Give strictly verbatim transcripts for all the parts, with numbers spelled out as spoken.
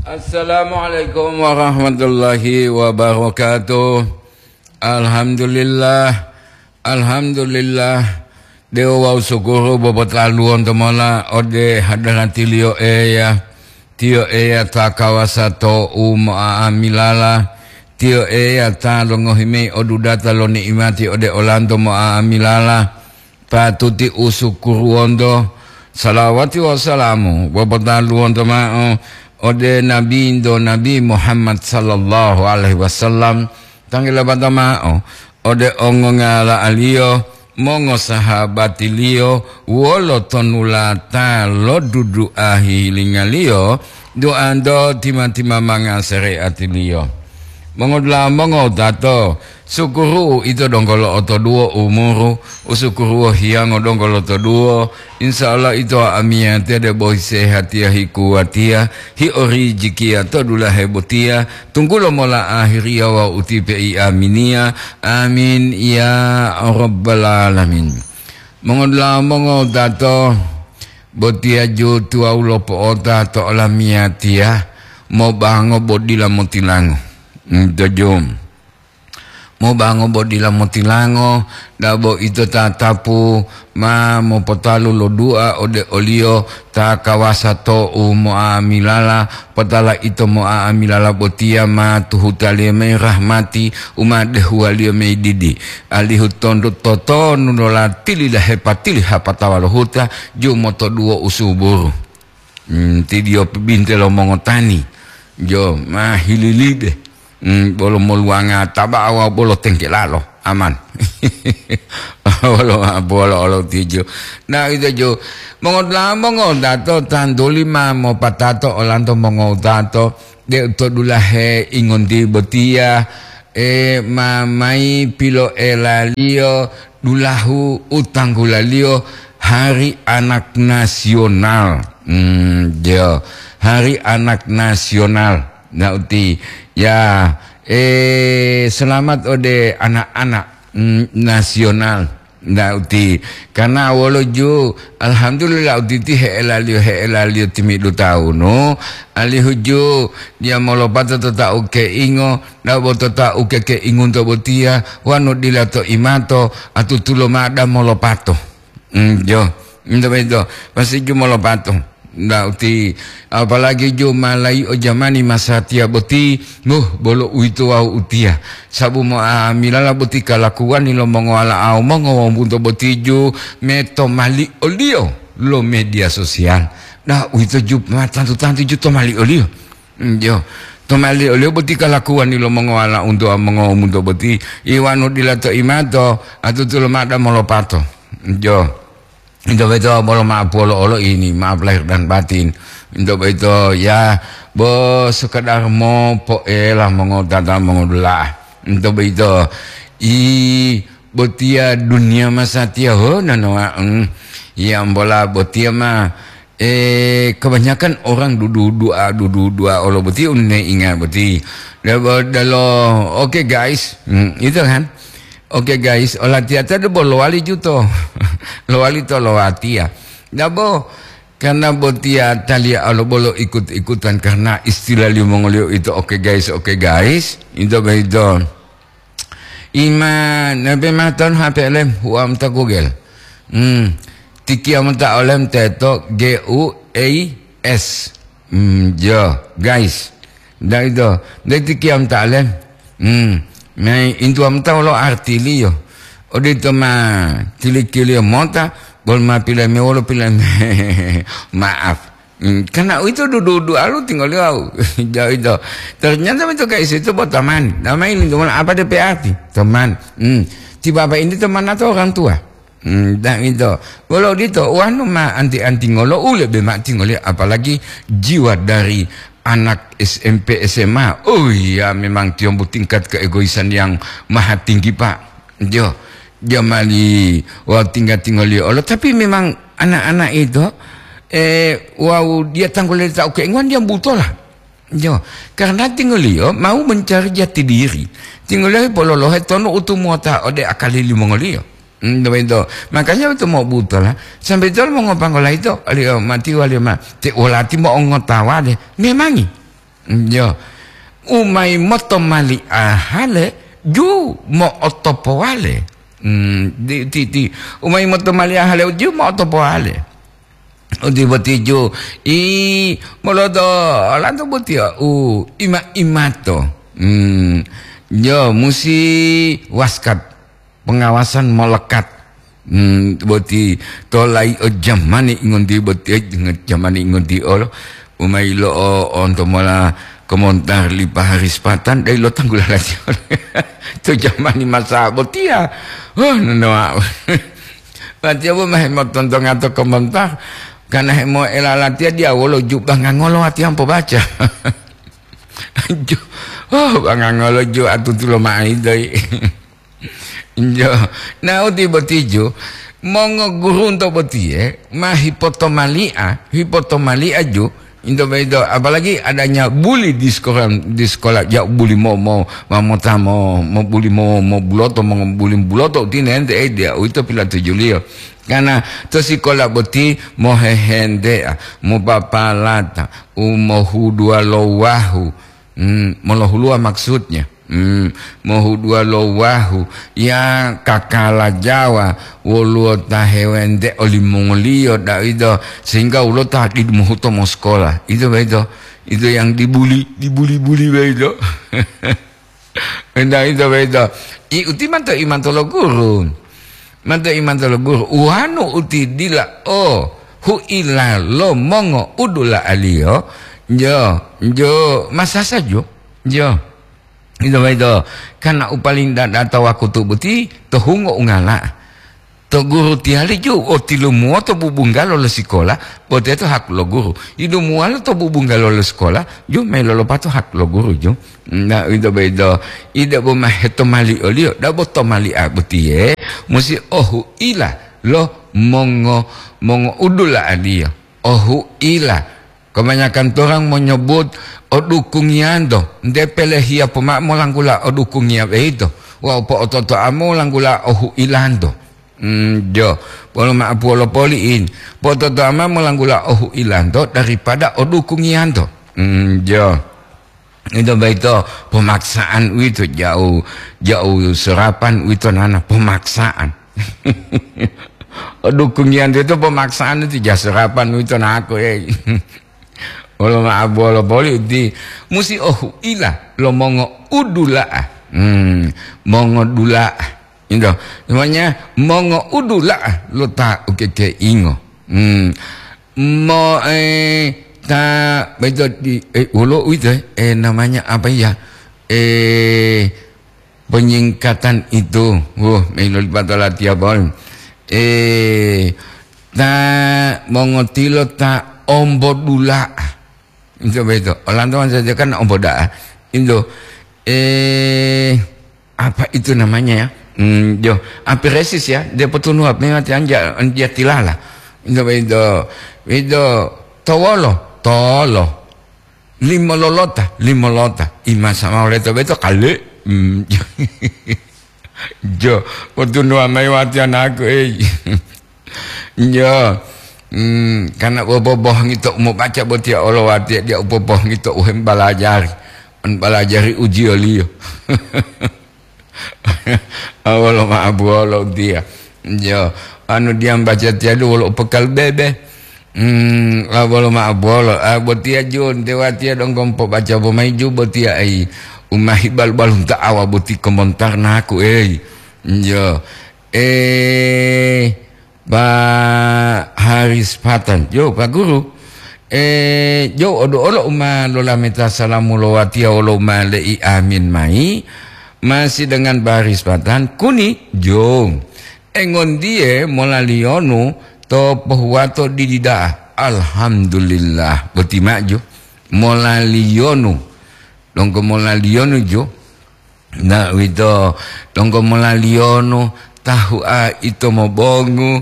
Assalamualaikum warahmatullahi wabarakatuh. Alhamdulillah, alhamdulillah. Dewo wawu sukuru bobotaluwonto mola ode hadaratiliyo Eya. Tiyo Eya ta kawasa to u mo'a'amilala. Tiyo Eya ta longohi mayi odudata lo ni'imati ode olanto mo'a'amilala. Patuti usukuruwonto, salawati wawu salamu bobotaluwonto ma'o ode Nabinto Nabi Muhammad sallallahu alaihi wasallam, tanggila bata ma'o ode ongongala'aliyo, mongosahabatiliyo, wolo tonulata lo dudu'a hihilingaliyo, duanto tima-timamanga sare'atiliyo. Mongodula'a mongowutato, sukuru'u ito donggo lo'otoduwo umuru, usukuruwo hiyango donggo lotoduwo, insya Allah ito amiyatiya debo hisehatiya hikuwatiya, hiorijikiya to dulahe botiya, tunggulo mola ahiriya wawu utipe i aminiya. Amin ya rabbal alamin. Mongodula'a mongowutato, botiya ju tuwawu lopo'ota to olamiyatiya, mobango bo dila motilango. Nto ju. Mobango bo dila motilango, dabo ito tatapu ma mopotalu lo du'a ode oliyo ta kawasa to u mo'amilala, potala ito mo'amilala botiya ma tuhutaliyo mayi rahmati u ma dehuwaliyo mayi didi, alihu tondu totonu lo latili dahepa tili hapatawa lo huta, ju motoduwo usuburu. Hmm, tidiyo binte lo mongotani, jo ma hililibe, hmm, bolo moluwanga tabawa bolo tengkelalo, aman. Bolo, bolo olo tijo. Nah, ito jo, mongoda'a mongodato tantuli ma mopatato olanto mongodato, de to dulahe ingonti botiya, e, ma mayi piloelaliyo dulahu u tanggulaliyo Hari Anak Nasional. Hmm, jo, Hari Anak Nasional. Nah, uti, ya, eh, selamat ode anak-anak, mm, nasional. Nah, uti, karena wolo ju, alhamdulillah, uti ti he'elaliyo, he'elaliyo timidu tahunu, alihu ju, dia molopato to ta ukeingo, dabo to ta ukeke'ingunto botiya, wanu dila to imato, atutulo mada molopato. Mm, jo, ento boyito, pasti ju molopato. Nda uti, apalagi ju malayi o jamani masatiya boti, muh, bolo uwito wawu utiya. Sabu mo'amilala boti kalakuwani lo mongowala'au mongowombunto boti ju metomali oliyo lo media sosial. Nda uwito ju ma tantu-tantu ju tomali oliyo. Mm, jo. Tomali oliyo boti kalakuwani lo mongowala'unto wawu mongowombunto boti, iwanu dila to imato, atutulo mada molopato. Mm, jo. Into boyito bolo maaf wolo olo ini, maaf lahir dan batin. Into boyito, ya, bo sekedar mopoela mongodata mongodula'a. Into boyito, i botiya duniya masatiya ho nanoa, mm. Ya, ambola botiya ma, eh, kebanyakan orang dudu-dua, dudu-dua olo boti unne inga boti. Dalo, dalo, oke, guys. Hmm, itu kan. Oke, guys, olatiyata debo lowali juto. Lowali to lowatiya. Dabo, karena botiya taliya alo bolo ikut-ikutan karena istilah limongoliyo itu, oke, guys, oke, guys. Itu begitu. Ima, nabe matan H P L M, huam ta Google. Hmm. Tikiya mota olem teto G U A S. Hmm, jo, guys. Nda ito, nda iti kiyam ta'lem. Hmm, mai intuwa mota wolo artiliyo. Odito ma tilikiliyo mota, bolo ma pilayi me wolo pilayi me. Maaf. Hmm, karena uwito dudu-dudu alu tingoliyo wawu. Jo ito. Ternyata ito guys itu bo teman. Namanya ini teman apa D P arti? Teman. Hmm. Ti bapak ini teman atau orang tua? Hmm, da'uwito. Wolo uwito, wonu ma anti-antingolo u lebe ma'o tingoliyo, apalagi jiwa dari anak S M P, S M A. Oh iya, memang tiyombu tingkat keegoisan yang maha tinggi, Pak. Jo, jamali wawu tingga-tinggoliyo olo, tapi memang anak-anak itu, eh, wawu dia tanggulele ta ukeinguwan, dia butola. Jo, karena tingoliyo mau mencari jati diri. Tingoliyo pololohe tonu u tumuwota ode akali limongoliyo. Hmm, to boyito. Makanya to mobutola, sambe tolo mongopanggola yito, aliyo mati waliyo ma, te wolati mo'ongotawa de, memangi. Yo. Umayi motomali'a hale ju mo'otopowale. Hmm, di, di, di. Umayi motomali'a hale ju mo'otopowale. Uti boti ju, i, moloto lanto boti u ima-imato. Hmm, yo, musi waskat, pengawasan melekat. Hmm, boti tolai o jamani ngonti boti, eh, jamani ngonti olo. Umai lo o, onto mola komentar li paharis patan, dai lo tanggula lati. To jamani masa botia. Oh, nono. Lati apa mah motontonga to komentar. Karena hemo elalatia dia wolo ju bangangolo ati ampo baca. Ju, oh, bangangolo ju atutulo maai doi. Jo, na uti boti ju, mongogurunto botiye ma hipotomali'a, hipotomali'a ju, into boyito, apalagi adanya buli di sekolah, di sekolah, ja buli mo, mo, mamota mo, mo buli mo, mo buloto, mo buli buloto, uti nente, eh, dia, uwito pilatujuliyo. Karena to sekolah boti mohehentea, mopapalata, umohuduwa lo wahu, Hmm, molohuluwa maksudnya. Hmm, mohuduwa lo wahu, ya kakala Jawa, woluwo ta hewente olimongoliyo, da'ido, sehingga woluwo ta didu mohuto mosekolah. Itu begitu. Itu yang dibuli, dibuli-buli begitu. Enda itu begitu. I uti manto imanto lo guru. Manto imanto lo guru. Uwanu uti dila o huila lo mongo udula'aliyo. Jo, jo, masasa jo. Jo. Ito boyito, karena u paling dada to wakutu boti to hungo ungala. To guru tiyali ju o tilumuwo to bubunggalo lo sikola, bo teto hak lo guru. Ilumuwalo to bubunggalo lo sikola, ju melo lopato hak lo guru ju. Na ito boyito, ida bo maheto mali oliyo, dabo to mali a botiye, musi ohu ila lo mongo, mongo udula aliyo. Ohu ila. Kebanyakan orang menyebut odukungiyanto, nte pelehiya poma molanggula odukungiya beito, wawu po'ototo'a molanggula ohu'ilanto. Mm, jo, polo ma'apuwolo poli'in, po'ototo'a ma molanggula ohu'ilanto daripada odukungiyanto. Mm, jo. Ito boyito pemaksaan uwito, jauh, jauh serapan uwito nana pemaksaan. Dukungiyan itu pemaksaan itu ja serapan uwito naku, eh. Wolo ma'abuwolo boli uti musi ohu'ila lo mongo udula'a. Hmm, mongo dula'a. Ito, namanya mongo udula'a lo ta ukekeingo. Hmm. Mo, eh, ta, beto di, eh, wolo uwito, eh, namanya apa ya? Eh, penyingkatan itu, wuh, milo lipata latiya bol. Eh, ta mongotilo ta ombo dula'a. Itu beto. Olanto kan saja kan ombo da'a. Itu, eh, apa itu namanya ya? Hmm, jo, apiresis ya, dia potunu apa memang anja, anja tilala. Itu beto, itu towolo, tolo. Limololota, limolota. Ima sama oleh to beto kali. Hmm, jo, potunu amai wati anaku, eh. Jo, hmm, karena boboboh ngito mau baca botia olo wati dia boboboh ngito uhem balajari. Balajari ujiyo liyo. Awolo ma'abuwolo utiya. Jo, anu diya mbaca tiyadu wolo upekal bebe. Hmm, awolo ma'abuwolo. Ah, botiya jun, dewatiya donggo mpobaca bomayi ju botiya ai. Umahi balu-balunta awa boti komontar naku, ei. Jo. Eh, Pak Haris Patan, jo, Pak Guru, eh, jo, odo olo uma lolameta salamu lo watiya wolo uma le'i amin mai, masih dengan Pak Haris Patan, kuni, jo, engondiye molaliyonu to pohuwato didi da'a. Alhamdulillah, boti maju, molaliyonu, donggo molaliyonu, jo, Na uwito, donggo molaliyonu, tahu'a ito mobongu.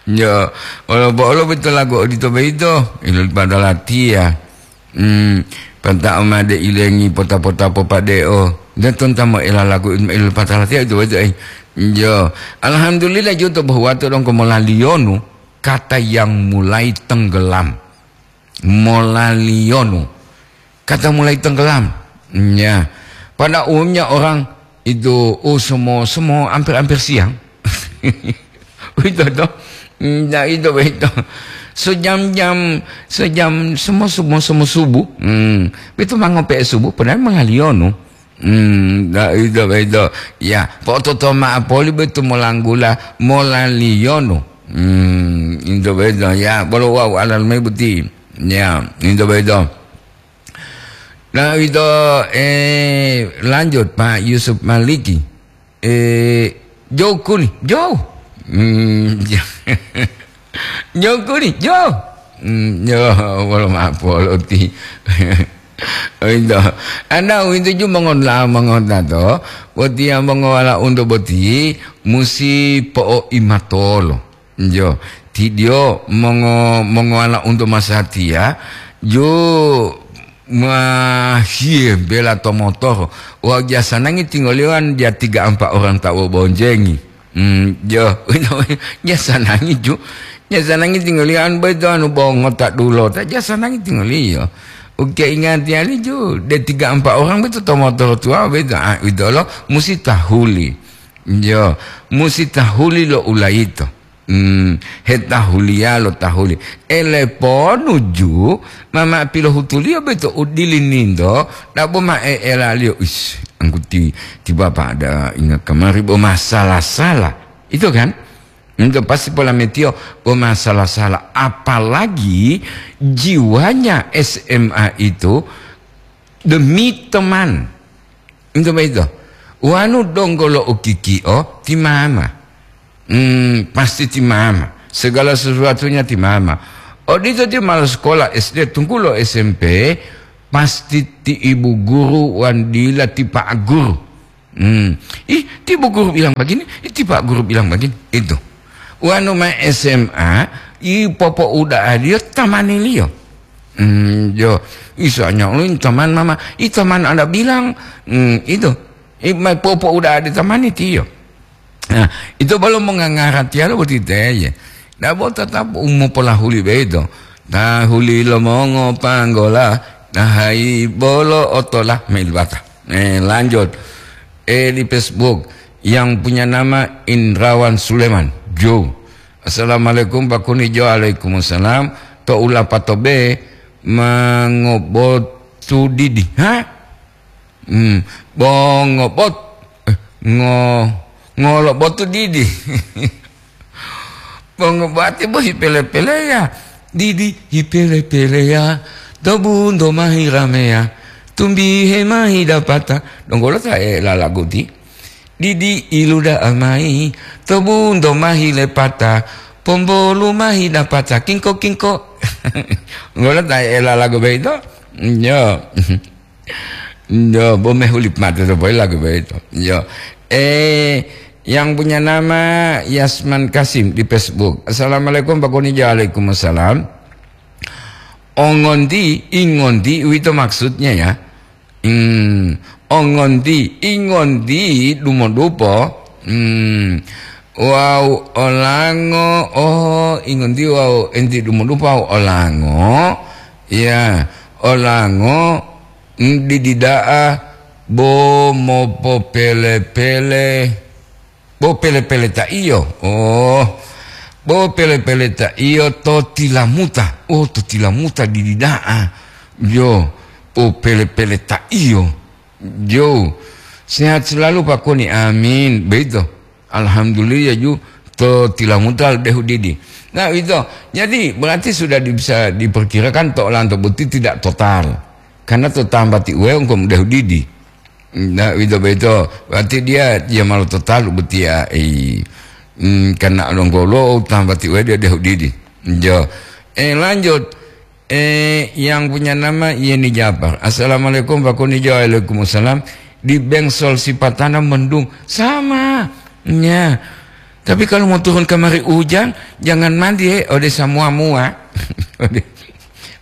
Jo, olo bo olo bito lagu odito boyito, ilolipata latiya. Hmm, pata'o made ilengi pota-pota popade'o. Daton ta moela lagu ilolipata latiya ito boyito, eh. Jo, alhamdulillah jo to bohuwato donggo molaliyonu, kata yang mulai tenggelam. Molaliyonu. kata mulai tenggelam. Ya. Pada umumnya orang itu, oh, semua, semua hampir-hampir siang. Itu toh. Nah, itu begitu. Sejam-jam, sejam, semua, semua, semua subuh. Hmm. Itu mangope subuh, padahal mangaliyono. Hmm, nah, itu begitu. Ya, pototo ma'apoli betu molanggula, molaliyono. Hmm, itu begitu. Ya, bolo wau alal mebuti. Ya, itu begitu. Nah, itu, eh, lanjut, Pak Yusuf Maliki. Eh, jokuni, jo. Hmm, jokuni, jo. Hmm, jo, wolo ma'apoloti. Itu. Anda itu ju mongon la mongota to. Botiya mongowala unto boti musi po'oimatolo. Jo, tidio mongo-, mongowala unto masatiya, jo mahiye bela to motoro. Wa jasanangi tingoliwan ja tiga ampa orang ta wobonjengi. Hmm, jo, jasanangi ju. Jasanangi tingoliwan boyito anu bongo ta dulota, jasanangi tingoliyo. Uke ingati ali ju, de tiga ampa orang boyito to motoro tuwa boyito, ah, uwitolo musi tahuli. Jo, musi tahuli lo ulayito. Hmm, hetahuliya lo tahuli. Ele ponu ju, mama pilohutuliyo boyito u dili ninto, dabo ma e'elaliyo, "Is, angkuti ti bapak ada ingat kamari bo masalah-salah." Itu kan? Itu pasti polametiyo bo masalah-salah. Apalagi jiwanya S M A itu demi teman. Itu begitu. Wanu donggo lo ukikio ti mama. Hmm, pasti ti mama. Segala sesuatunya ti mama. Odito ti malo sekolah S D tunggulo S M P, pasti ti ibu guru wan dila ti pak guru. Hmm. Ih, ti ibu guru bilang begini, ih, ti pak guru bilang begini. Itu. Wanu ma S M A, i popo uda adio tamaniliyo. Hmm, jo, isanya ulun taman mama, i taman ada bilang, hmm, itu. I mai popo uda adi tamani tiyo. Nah, itu belum mengangaratiyalo boti teye. Dabo tetap umu polahuli beito. Tahuli lo mongo panggola, tahai bolo otola melibata. Eh, lanjut. Eh, di Facebook yang punya nama Indrawan Suleman. Jo. "Assalamualaikum, Pak Kuni." Jo, "Waalaikumsalam." To ulapa to be mangobotu didi. Ha? Hmm, bongobot, eh, ngo-, ngolobotu didi. Bongobati bo hipele-peleya. Didi hipele-peleya. To bunto mahi rameya. Tumbihe mahi dapata. Donggolo ta e lalaguti. Didi iluda'a mayi. To bunto mahi lepata. Pombolu mahi dapata. Kingko-kingko. Ngolo ta e lalagu beito? Yo. Yo, bo mehuli mate to boyila lagu boyito. Yo. Eh, yang punya nama Yasman Kasim di Facebook. "Assalamualaikum, Pak Kuni." Waalaikumsalam. Ongonti, ingonti, uwito maksudnya ya. Hmm, ongonti, ingonti, dumodupo. Hmm, wau olango, oh, ingonti wau enti dumodupo wau olango. Ya, olango. Didida'a bo mopopele-pele, bo pele-pele ta iyo. Oh, bo pele-pele ta iyo to tilamuta. Oh, to tilamuta didida'a. Yo, bo pele-pele ta iyo. Yo, sehat selalu Pak Koni. Amin. Begitu. Alhamdulillah ju to tilamuta dehu didi. Nah, itu. Jadi, berarti sudah di-, bisa diperkirakan to olanto boti tidak total. Karena to tambati uwe engko mudahu didi. Nah, itu beto. Berarti dia, dia malu total betia. Eh, hmm, karena longgolo tambati uwe dia dehu didi. Jo. Eh, lanjut. Eh, yang punya nama Yeni Japar. "Assalamualaikum, Pak Kuni." Jo, waalaikumsalam. Di Bengsol Sipatana mendung. Sama. Ya. Tapi kalau mau turun kemari hujan, jangan mandi, eh, ode samua mua. Ode,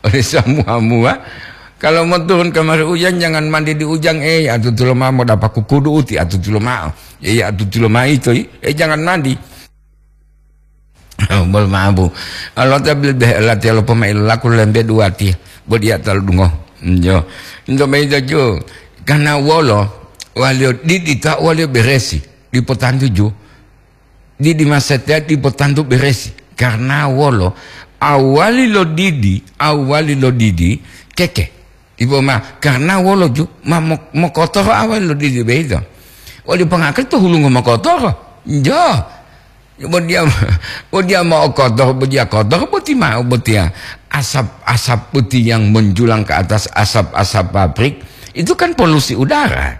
ode samua mua. Kalau mau turun kemari hujan, jangan mandi di hujan, eh, atu tulo mao mau dapat kukudu uti, atu tulo mao. Eh, atu tulo mao itu, eh, jangan mandi. Bol mabu. Allah ta bil beh lati lo pemain laku lembe dua ti. Bo dia talu dungo. Jo. Into mayi to ju. Karena wolo, waliyo didi ta waliyo beresi. Dipotantu ju. Didi masatiya dipotantu beresi. Karena wolo, awali lo didi, awali lo didi, keke. Ibo ma, karena wolo ju, ma mo-, mokotoro awali lo didi beito. Wali pangakali to hulungo mokotoro. Jo. Bo dia, bo dia mau kotor, bo dia kotor, boti mau botia. Asap, asap putih yang menjulang ke atas asap-asap pabrik, itu kan polusi udara.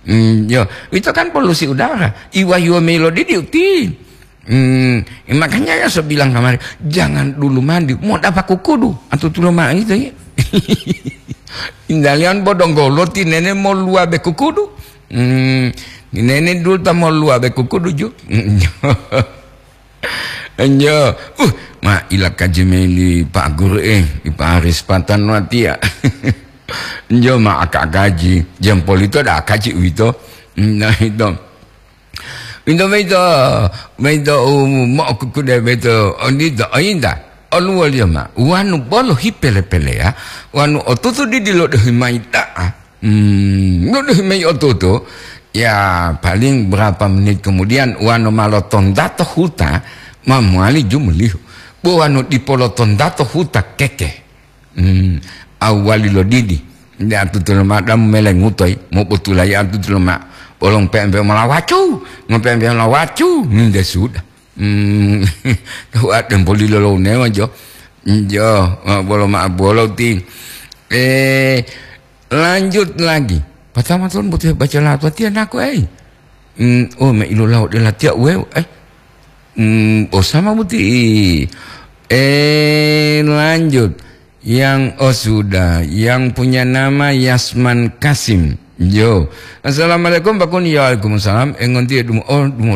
Hmm, yo, itu kan polusi udara. Iwa-iwa melo didi uti. Hmm, makanya ya saya bilang kemarin, jangan dulu mandi, mau dapat kukudu, atau tulo mah itu ya. Indalian bodonggolo tinene mau luabe kukudu. Hmm, nene dulu ta mau luabe kukudu ju. Enjo. Uh, ma ila kaji mayi li Pak Guru, eh, li Pak Aris Patan watiya. Enjo ma aka kaji, jam polito da kaji uwito. Nah, itu. Uwito, uwito, uwito, um, mo kukude uwito, ondito, ointa. Oluwoliyo ma, wanu bolo hipele-peleya, wanu otutu didi lodehi mayi da'a. Hmm, lodehi mayi otutu, ya, paling berapa menit kemudian, wanu ma lotondato huta, ma mowali jumulihu. Bo wanu dipo lotondato huta keke. Hmm, awali lo didi. Nde atutu loma damu melengutoyi, mobotulayi atutu loma. Bolong pempe malawacu, ngopempe malawacu, ninde sudah. Hmm, tahu ada yang boleh lo newa jo. Jo, ma bolo ma bolo ti. Eh, lanjut lagi. Pertama tuan butuh baca latuatiya naku, eh. Hmm, oh, me ilu laut de latia uwe, eh. Hmm, oh, sama buti. Eh, lanjut. Yang, oh, sudah. Yang punya nama Yasman Kasim. Jo. Assalamualaikum, Pak Kun. Ya, waalaikumsalam. Eh, ngonti ya, dumo, oh, dumo.